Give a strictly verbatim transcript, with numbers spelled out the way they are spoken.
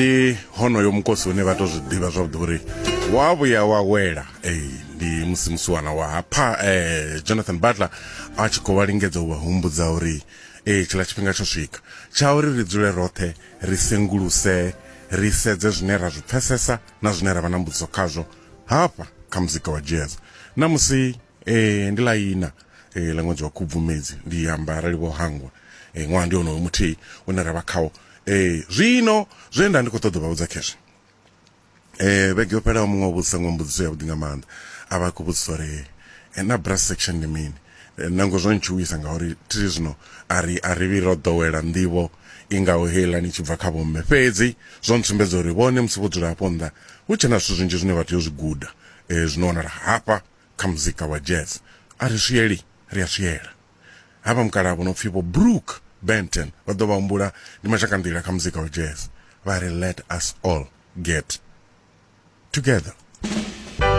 Ndi honoyo mukosi une vha to zwi ḓivha zwavhuḓi uri wa vhuya wa wela. Ee, ndi musi musiwana wa hapha eh, Jonathan Butler a tshi khou vha lingedza u vha humbudza uri ee, tshiḽa tshifhinga tsho swika tsha uri ri dzule roṱhe, ri senguluse, ri sedze zwine ra zwi pfesesa na zwine ra vha na mbudziso khazwo hafha kha muzika wa jazz. Na musi eh, ndi ḽa ina eh, ḽa ṅwedzi wa Khubvumedzi, ndi amba arali vho hangwa, eh, ṅwaha ndi wonoyo muthihi une ra vha khawo. eh, zwino zwe nda ndi khou ṱoḓa u vha vhudza khezwi, eh vhege yo fhelaho muṅwe o vhudzisa ṅwe mbudziso yavhuḓi nga maanḓa, a vha khou vhudzisa uri eh, na brass section ndi mini. Eh, nango zwo ntshuwisa ngauri thi zwino a ri a ri vhi ro ḓowela nḓivho i ngaho heiḽani i tshi bva kha vhomme, fhedzi zwo ntsumbedza uri vhone musi vho dzula hafho nnḓa hu tshe na zwithu zwinzhi zwine vha tea u zwi guda, eh, zwino wanala hafha kha muzika wa jazz. A ri swieli, ri a swiela. Havha mukalaha vho no pfi vho Brook Benton, vha ḓo vha humbula, ndi mashakanḓila kha muzika wa jazz, vha ri let us all get together.